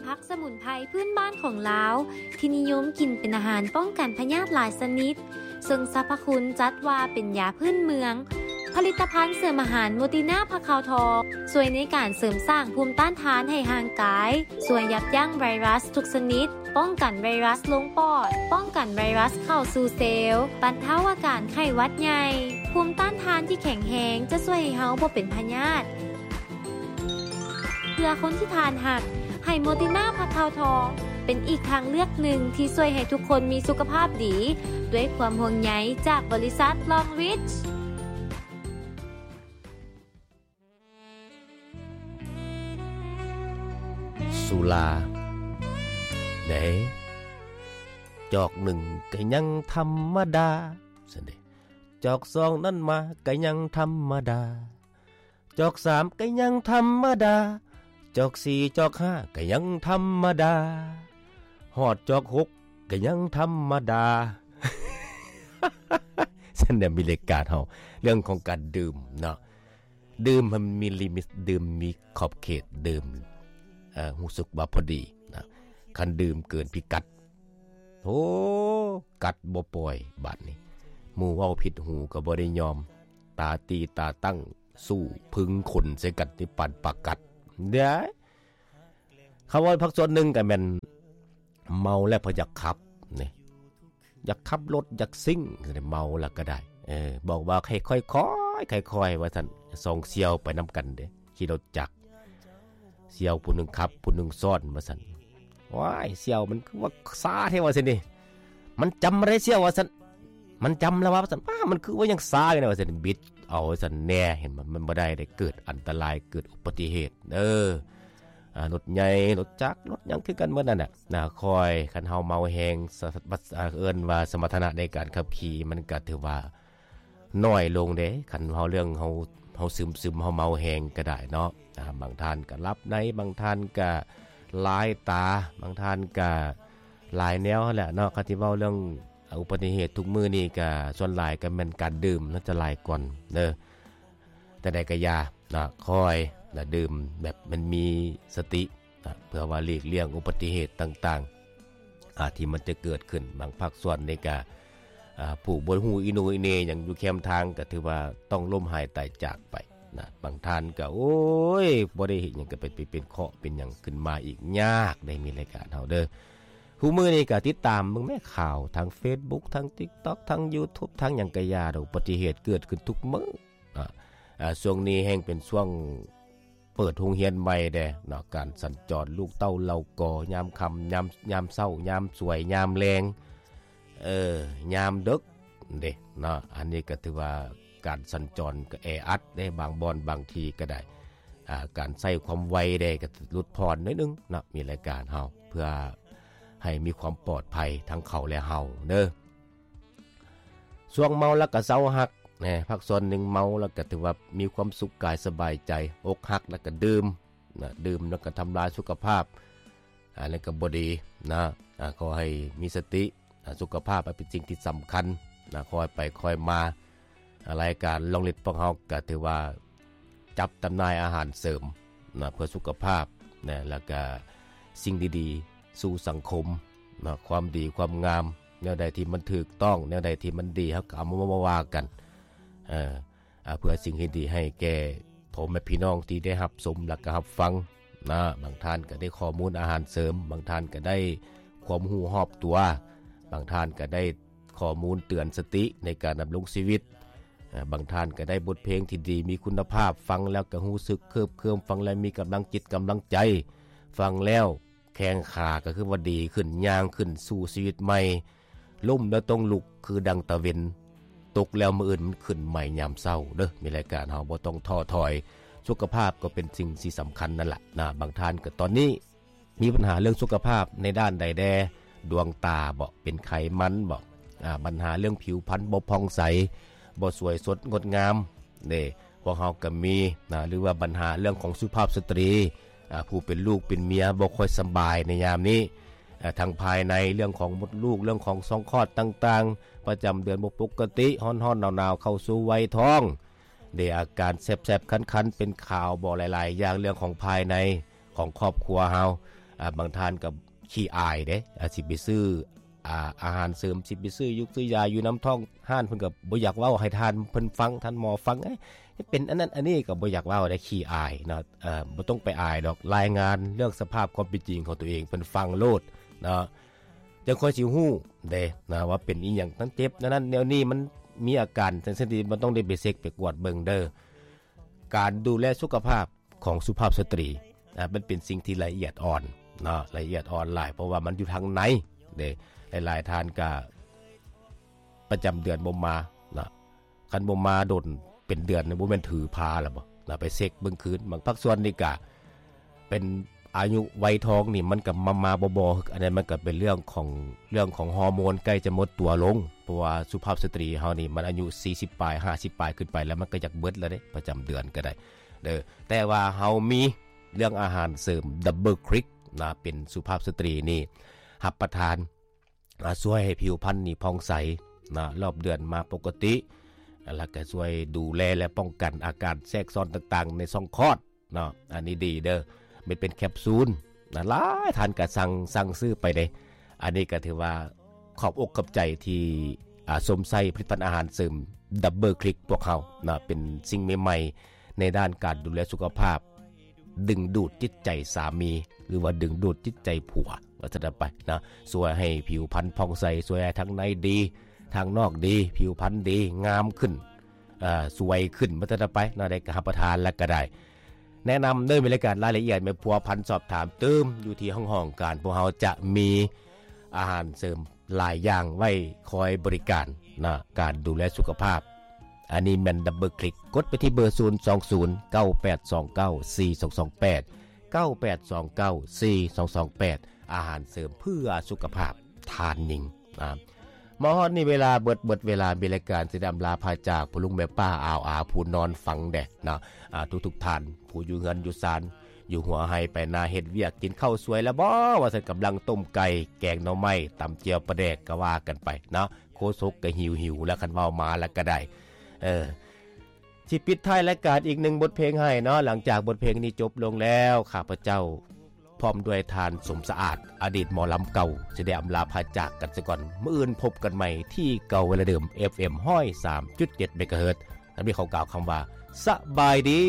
ຜັກສະໝຸນໄພພື້ນບ້ານຂອງລາວ ທີ່ນິຍົມກິນເປັນອາຫານປ້ອງກັນພະຍາດຫຼາຍຊະນິດ, ເຊິ່ງສັບພະຄຸນຈັດວ່າເປັນຢາພື້ນເມືອງ. ຜະລິດຕະພັນເສີມອາຫານໂມຕິນາຜັກຂາວທອງ ຊ່ວຍໃນການເສີມສ້າງພູມຕ້ານທານໃຫ້ຮ່າງກາຍ, ຊ່ວຍຢັບຢັ້ງໄວຣັສທຸກຊະນິດ, ປ້ອງກັນໄວຣັສລົງປອດ, ປ້ອງກັນໄວຣັສເຂົ້າສູ່ເຊວ, ບັນເທົາອາການໄຂ້ຫວັດໃຫຍ່. ພູມຕ້ານທານທີ່ແຂງແຮງຈະຊ່ວຍໃຫ້ເຮົາບໍ່ເປັນພະຍາດ. ເພື່ອຄົນທີ່ທ່ານຮັກ, ໃຫ້ໂມຕິນາຜັກຂາວທອງ ເປັນອີກທາງເລືອກໜຶ່ງທີ່ຊ່ວຍໃຫ້ທຸກຄົນມີສຸຂະພາບດີ, ດ້ວຍຄວາມຫ່ວງໃຍຈາກບໍລິສັດ Long Reach. ສຸລາເດ້ ຈອກໜຶ່ງກໍຍັງທຳມະດາ ຊັ້ນເດ້ ຈອກສອງນັ້ນມາກໍຍັງທຳມະດາ ຈອກສາມກໍຍັງທຳມະດາ ຈອກສີ່ ຈອກຫ້າກໍຍັງທຳມະດາ ຮອດຈອກຫົກກໍຍັງທຳມະດາ. ຊັ້ນແຫຼະ ມີລາຍການເຮົາ ເລື່ອງຂອງການດື່ມເນາະ ດື່ມໃຫ້ມັນມີລິມິດ ດື່ມມີຂອບເຂດ ດື່ມ ເອີ ຮູ້ສຶກວ່າພໍດີນະ ຄັນດື່ມເກີນພິກັດ ໂອ້ ກັດບໍ່ປ່ອຍບາດນີ້ ໝູ່ເວົ້າຜິດຫູກໍບໍ່ໄດ້ຍອມ ຕາຕີຕາຕັ້ງສູ້ເພິ່ງຂົນໃສ່ກັນ ຕິປານປາກັດເດ້. ຄຳເວົ້າພາກສ່ວນໜຶ່ງກໍແມ່ນເມົາແລ້ວບໍ່ຢາກຂັບນີ້ ຢາກຂັບລົດ ຢາກຊິງ ເມົາແລ້ວກໍໄດ້ ເອີ ບອກວ່າໃຫ້ຄ່ອຍໆ ຄ່ອຍໆ ວ່າຊັ້ນ ສອງສ່ຽວໄປນຳກັນເດ້ ຂີ່ລົດຈັກ ສ່ຽວຜູ້ໜຶ່ງຂັບ ຜູ້ໜຶ່ງຊ້ອນ ວ່າຊັ້ນ ວ້າຍ ສ່ຽວ ມັນຄືວ່າຊ້າແທ້ ວ່າຊັ້ນນີ້ ມັນຈຳບໍ່ໄດ້ສ່ຽວ ວ່າຊັ້ນ ມັນຈຳແລ້ວວ່າຊັ້ນ ປ້າ ມັນຄືວ່າຍັງຊ້າຢູ່ນະ ວ່າຊັ້ນ ບິດເອົາ ວ່າຊັ້ນແດ່ ເຫັນບໍ່ ມັນບໍ່ໄດ້ເດ້ ເກີດອັນຕະລາຍ ເກີດອຸບັດຕິເຫດເດີ ອ່າ ລົດໃຫຍ່ ລົດຈັກ ລົດຫຍັງຄືກັນໝົດນັ້ນນະ ນະ ຄ່ອຍ ຄັນເຮົາເມົາແຮງ ສະ ສະ ເອີ້ນວ່າສະມັດຖະນະໃນການຂັບຂີ່ ມັນກໍຖືວ່າ ໜ້ອຍລົງເດ້ ຄັນເຮົາເລື່ອງເຮົາ ເຮົາຊຶມໆ ເຮົາເມົາແຮງກໍໄດ້ເນາະ ອ່າ ບາງທ່ານກໍຫຼັບໃນ ບາງທ່ານກໍລາຍຕາ ບາງທ່ານກໍຫຼາຍແນວຫັ້ນແຫຼະເນາະ ຄັນຊິເວົ້າເລື່ອງອຸບັດຕິເຫດທຸກມື້ນີ້ກໍສ່ວນຫຼາຍກໍແມ່ນການດື່ມນະ ຈະຫຼາຍກ່ອນເດີ ແຕ່ໃດກໍຢ່ານະ ຄ່ອຍນະ ດື່ມແບບມັນມີສະຕິ ນະ ເພື່ອວ່າຫຼີກລ່ຽງອຸບັດຕິເຫດຕ່າງໆ ອາ ທີ່ມັນຈະເກີດຂຶ້ນ. ບາງພາກສ່ວນນີ້ກະ ອາ ຜູ້ບໍ່ຮູ້ອີໂໜອີເໜຫຍັງຢູ່ແຄມທາງ ກະຖືວ່າຕ້ອງລົ້ມຫາຍຕາຍຈາກໄປນະ. ບາງທ່ານກະ ໂອ້ຍ ບໍ່ໄດ້ເຮັດຫຍັງ ກະໄປ ໄປເປັນເຄາະເປັນຫຍັງຂຶ້ນມາອີກ ຍາກໄດ໋ ມີລາຍການເຮົາເດີ. ຄູ່ມື້ນີ້ກະຕິດຕາມເບິ່ງແມ້ຂ່າວທາງເຟສບຸກ ທາງຕິກຕັອກ ທາງຢູທູບ ທາງຫຍັງກະຢ່າດອກ ອຸບັດຕິເຫດເກີດຂຶ້ນທຸກມື້ນະ. ອາ ຊ່ວງນີ້ແຮ່ງເປັນຊ່ວງ ເປີດໂຮງຮຽນໃໝ່ແດ່ເນາະ ການສັນຈອນລູກເຕົ້າເຫຼົ່າກໍ ຍາມຄ່ຳ ຍາມ ຍາມເຊົ້າ ຍາມສວຍ ຍາມແລງ ເອີ ຍາມເດິກເດ້ເນາະ. ອັນນີ້ກໍຖືວ່າການສັນຈອນກໍແອອັດເດ້ ບາງບ່ອນບາງທີ່ກໍໄດ້ ອາ ການໃຊ້ຄວາມໄວເດ້ກໍຫຼຸດຜ່ອນໜ້ອຍໜຶ່ງເນາະ. ມີລາຍການເຮົາເພື່ອໃຫ້ມີຄວາມປອດໄພທັງເຂົາແລະເຮົາເດີ. ຊ່ວງເມົາແລ້ວກໍເຊົາຮັກແນ່ ພາກສ່ວນໜຶ່ງເມົາແລ້ວກໍຖືວ່າມີຄວາມສຸກກາຍສະບາຍໃຈ ອົກຫັກແລ້ວກໍດື່ມນະ ດື່ມແລ້ວກໍທຳລາຍສຸຂະພາບ ອັນນັ້ນກໍບໍ່ດີນະ. ອາ ຂໍໃຫ້ມີສະຕິ ອາ ສຸຂະພາບເປັນສິ່ງທີ່ສຳຄັນນະ ຄ່ອຍໄປຄ່ອຍມາ. ອາ ລາຍການລອງລິດພວກເຮົາກໍຖືວ່າຈັບຈຳໜ່າຍອາຫານເສີມນະ ເພື່ອສຸຂະພາບນະ ແລ້ວກໍສິ່ງດີໆ ສູ່ສັງຄົມເນາະ ຄວາມດີຄວາມງາມ ແນວໃດທີ່ມັນຖືກຕ້ອງ ແນວໃດທີ່ມັນດີ ເຮົາກໍເອົາມາ ມາວ່າກັນ ເອີ ເພື່ອສິ່ງທີ່ດີໃຫ້ແກ່ພໍ່ແມ່ພີ່ນ້ອງທີ່ໄດ້ຮັບຊົມ ແລ້ວກໍຮັບຟັງນະ. ບາງທ່ານກໍໄດ້ຂໍ້ມູນອາຫານເສີມ ບາງທ່ານກໍໄດ້ຄວາມຮູ້ຮອບຕົວ ບາງທ່ານກໍໄດ້ຂໍ້ມູນເຕືອນສະຕິໃນການດຳລົງຊີວິດ ເອີ ບາງທ່ານກໍໄດ້ບົດເພງທີ່ດີມີຄຸນນະພາບ ຟັງແລ້ວກໍຮູ້ສຶກເຄີບເຄີມ ຟັງແລ້ວມີກຳລັງຈິດກຳລັງໃຈ ຟັງແລ້ວແຂ້ງຂາກໍຄືວ່າດີຂຶ້ນ ຍ່າງຂຶ້ນສູ່ຊີວິດໃໝ່ ລົ້ມແລ້ວຕ້ອງລຸກຄືດັ່ງຕາເວັນ ຕົກແລ້ວມື້ອື່ນມັນຂຶ້ນໃໝ່ຍາມເຊົ້າເດີ. ມີລາຍການເຮົາບໍ່ຕ້ອງທໍ້ຖອຍ ສຸຂະພາບກໍເປັນສິ່ງທີ່ສຳຄັນນັ້ນລະນະ. ບາງທ່ານກໍຕອນນີ້ ມີບັນຫາເລື່ອງສຸຂະພາບໃນດ້ານໃດແດ່? ດວງຕາບໍ? ເປັນໄຂມັນບໍ? ອາ ບັນຫາເລື່ອງຜິວພັນບໍ່ຜ່ອງໃສ ບໍ່ສວຍສົດງົດງາມເດ້. ພວກເຮົາກໍມີນະ ຫຼືວ່າບັນຫາເລື່ອງຂອງສຸພາບສະຕຣີ ອາ ຜູ້ເປັນລູກເປັນເມຍບໍ່ຄ່ອຍສະບາຍໃນຍາມນີ້ ອາ ທັງພາຍໃນ ເລື່ອງຂອງມົດລູກ ເລື່ອງຂອງຊ່ອງຄອດຕ່າງໆ ປະຈຳເດືອນບໍ່ປົກກະຕິ ຮ້ອນໆ ໜາວໆ ເຂົ້າສູ່ໄວທ້ອງ ເດ້ ອາການແສບໆ ຄັນໆ ເປັນຂາວບໍ? ຫຼາຍໆຢ່າງ ເລື່ອງຂອງພາຍໃນຂອງຄອບຄົວເຮົາ ອ່າ ບາງທ່ານກໍຂີ້ອາຍເດ້ ອ່າ ຊິໄປຊື້ ອ່າ ອາຫານເສີມ ຊິໄປຊື້ຢູກຊື້ຢາຢູ່ນຳທ້ອງຮ້ານ ເພິ່ນກໍບໍ່ຢາກເວົ້າໃຫ້ທ່ານເພິ່ນຟັງ ທ່ານໝໍຟັງ ເອີຍ ເປັນອັນນັ້ນອັນນີ້ ກໍບໍ່ຢາກເວົ້າເດ້ ຂີ້ອາຍເນາະ. ເອີ ບໍ່ຕ້ອງໄປອາຍດອກ ລາຍງານເລື່ອງສະພາບຄວາມເປັນຈິງຂອງຕົວເອງເພິ່ນຟັງໂລດເນາະ ຈັ່ງຄ່ອຍຊິຮູ້ເດ້ນະ ວ່າເປັນອີ່ຫຍັງ ທັງເຈັບແນວນັ້ນແນວນີ້ ມັນມີອາການ ຈັ່ງຊັ້ນທີ່ມັນຕ້ອງໄດ້ໄປເຊັກໄປກວດເບິ່ງເດີ້. ການດູແລສຸຂະພາບຂອງສຸພາບສະຕຣີ ອ່າ ມັນເປັນສິ່ງທີ່ລະອຽດອ່ອນເນາະ ລະອຽດອ່ອນຫຼາຍ ເພາະວ່າມັນຢູ່ທາງໃນເດ້. ຫຼາຍໆທ່ານກະປະຈຳເດືອນບໍ່ມາເນາະ ຄັນບໍ່ມາດົນເປັນເດືອນນີ້ ບໍ່ແມ່ນຖືພາລະບໍ່ນະ ໄປເຊັກເບິ່ງຄືນ. ບາງພາກສ່ວນນີ້ກະເປັນອາຍຸໄວທອງນີ້ ມັນກະມາໆບໍ່ໆ ອັນນັ້ນມັນກະເປັນເລື່ອງຂອງ ເລື່ອງຂອງຮໍໂມນໃກ້ຈະໝົດຕົວລົງ ເພາະວ່າສຸພາບສະຕຣີເຮົານີ້ ມັນອາຍຸສີ່ສິບປາຍ ຫ້າສິບປາຍຂຶ້ນໄປແລ້ວ ມັນກະຢາກເບິດແລ້ວເດ້ ປະຈຳເດືອນກະໄດ້ເດີ້. ແຕ່ວ່າເຮົາມີເລື່ອງອາຫານເສີມ Double Click ນະ ເປັນສຸພາບສະຕຣີນີ້ ຮັບປະທານ ອ່າ ຊ່ວຍໃຫ້ຜິວພັນນີ້ຜ່ອງໃສນະ ຮອບເດືອນມາປົກກະຕິ ແລ້ວກໍຊ່ວຍດູແລ ແລະ ປ້ອງກັນອາການແຊກຊ້ອນຕ່າງໆໃນຊ່ອງຄອດເນາະ. ອັນນີ້ດີເດີ້ ມັນເປັນແຄບຊູນນະ ຫຼາຍທ່ານກໍສັ່ງ ສັ່ງຊື້ໄປເດ້. ອັນນີ້ກໍຖືວ່າຂອບອົກຂອບໃຈທີ່ ອ່າ ຊົມໃຊ້ຜະລິດຕະພັນອາຫານເສີມ Double Click ພວກເຮົານະ ເປັນສິ່ງໃໝ່ໆໃນດ້ານການດູແລສຸຂະພາບ ດຶງດູດຈິດໃຈສາມີ ຫຼືວ່າດຶງດູດຈິດໃຈຜົວ ວ່າຊັ້ນໄປນະ ຊ່ວຍໃຫ້ຜິວພັນຜ່ອງໃສ ຊ່ວຍໃຫ້ທາງໃນດີ ທາງນອກດີ ຜິວພັນດີ ງາມຂຶ້ນ ເອີ ສວຍຂຶ້ນ ວ່າຊັ້ນໄປນະ. ໄດ້ກໍຮັບປະທານແລ້ວກໍໄດ້ ແນະນຳເດີ ມີລາຍການ ລາຍລະອຽດ ແມ່ນພົວພັນສອບຖາມຕື່ມ ຢູ່ທີ່ຫ້ອງການ ພວກເຮົາຈະມີອາຫານເສີມຫຼາຍຢ່າງໄວ້ຄອຍບໍລິການນະ ການດູແລສຸຂະພາບ. ອັນນີ້ແມ່ນ Double Click ກົດໄປທີ່ເບີ ສູນສອງສູນ ເກົ້າແປດສອງເກົ້າ ສີ່ສອງສອງແປດ ເກົ້າແປດສອງເກົ້າ ສີ່ສອງສອງແປດ ອາຫານເສີມເພື່ອສຸຂະພາບທ່ານຍິງນະ. ມາຮອດນີ້ເວລາເບິດ ເບິດເວລາ ມີລາຍການຊິໄດ້ອຳລາພາຈາກ ພໍ່ລຸງແມ່ປ້າ ອາວອາ ຜູ້ນອນຟັງແດ່ນະ. ອ່າ ທຸກໆທ່ານ ຜູ້ຢູ່ເຮືອນຢູ່ຊານ ຢູ່ຫົວໄຮ່ໄປນາ ເຮັດວຽກ ກິນເຂົ້າສວຍແລ້ວບໍ່ ວ່າຊັ້ນ ກຳລັງຕົ້ມໄກ່ ແກງໜໍ່ໄມ້ ຕຳແຈ່ວປາແດກ ກໍວ່າກັນໄປເນາະ. ໂຄສົກກໍຫິວໆແລ້ວ ຄັນເວົ້າມາແລ້ວກໍໄດ້ ເອີ ຊິປິດທ້າຍລາຍການອີກໜຶ່ງບົດເພງໃຫ້ເນາະ. ຫຼັງຈາກບົດເພງນີ້ຈົບລົງແລ້ວ ຂ້າພະເຈົ້າ ພ້ອມດ້ວຍທ່ານ ສົມສະອາດ ອະດີດໝໍລຳເກົ່າ ຊິໄດ້ອຳລາພາຈາກກັນຊະກ່ອນ. ມື້ອື່ນພົບກັນໃໝ່ທີ່ເກົ່າເວລາເດີມ ເອັຟເອັມ ຮ້ອຍສາມຈຸດເຈັດ ເມກາເຮີດ. ແລ້ວມີຂໍກ່າວຄຳວ່າ ສະບາຍດີ.